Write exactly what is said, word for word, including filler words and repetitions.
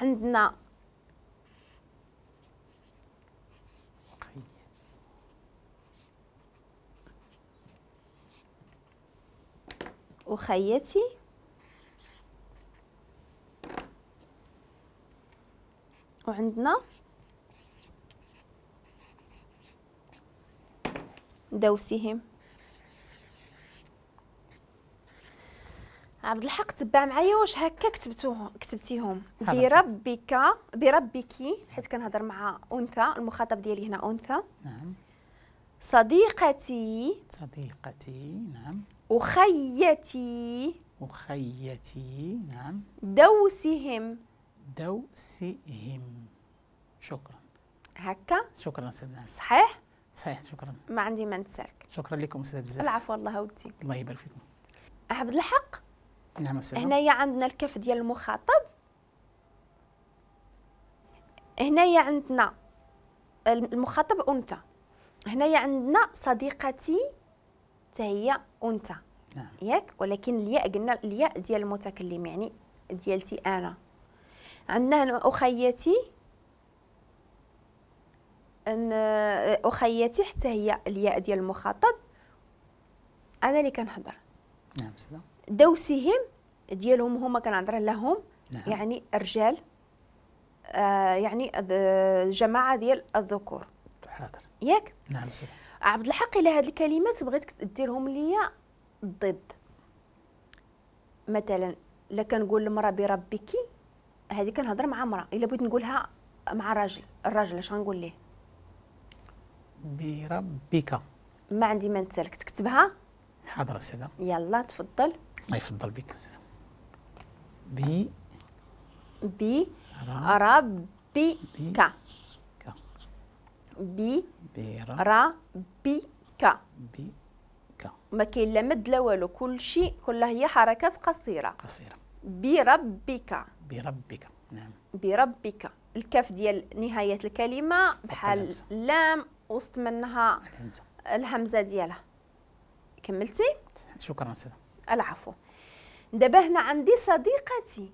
عندنا أخيتي، وعندنا دوسهم. عبد الحق تبع معايا واش هكا كتبتوهم كتبتيهم؟ بربك، بربك، حيت كنهضر مع انثى، المخاطب ديالي هنا انثى. نعم. صديقتي، صديقتي، نعم. أخيتي، أخيتي، نعم. دوسهم، دوسهم. شكرا. هكا؟ شكرا أستاذ. صحيح؟ صحيح، شكرا. ما عندي ما نتسالك. شكرا لكم أستاذ بزاف. العفو الله ودي. الله يبارك فيكم. عبد الحق. نعم أستاذ. هنايا عندنا الكف ديال المخاطب، هنايا عندنا المخاطب أنثى، هنايا عندنا صديقتي حتى هي أنثى. نعم. ياك؟ ولكن الياء قلنا الياء ديال المتكلم، يعني ديالتي أنا. عندنا هنا أخيتي، أن أخيتي حتى هي الياء ديال المخاطب، أنا اللي كنهضر. نعم أستاذ. دوسهم ديالهم هما كنهضر لهم. نعم. يعني رجال، آه يعني جماعة ديال الذكور. حاضر. ياك؟ نعم أستاذ. عبد الحق، إلى هاد الكلمات بغيتك ديرهم ليا ضد. مثلا لا كنقول المرأة بربك، هذه كنهضر مع امرأة، إلا بغيت نقولها مع راجل، الراجل اش غنقول ليه؟ بربك. ما عندي ما نتسالك، تكتبها؟ حاضر أستاذة. يلا تفضل. الله يفضل بك أستاذة. بي بي ربك، بي ربك، بك. ما كاين لا مد لا والو، كلشي كلها هي حركات قصيرة قصيرة. بربك، بربك، نعم. بربك، الكاف ديال نهاية الكلمة بحال اللام وسط منها الهمزة، الهمزة ديالها. كملتي؟ شكرا أستاذة. العفو. دابا هنا عندي صديقتي.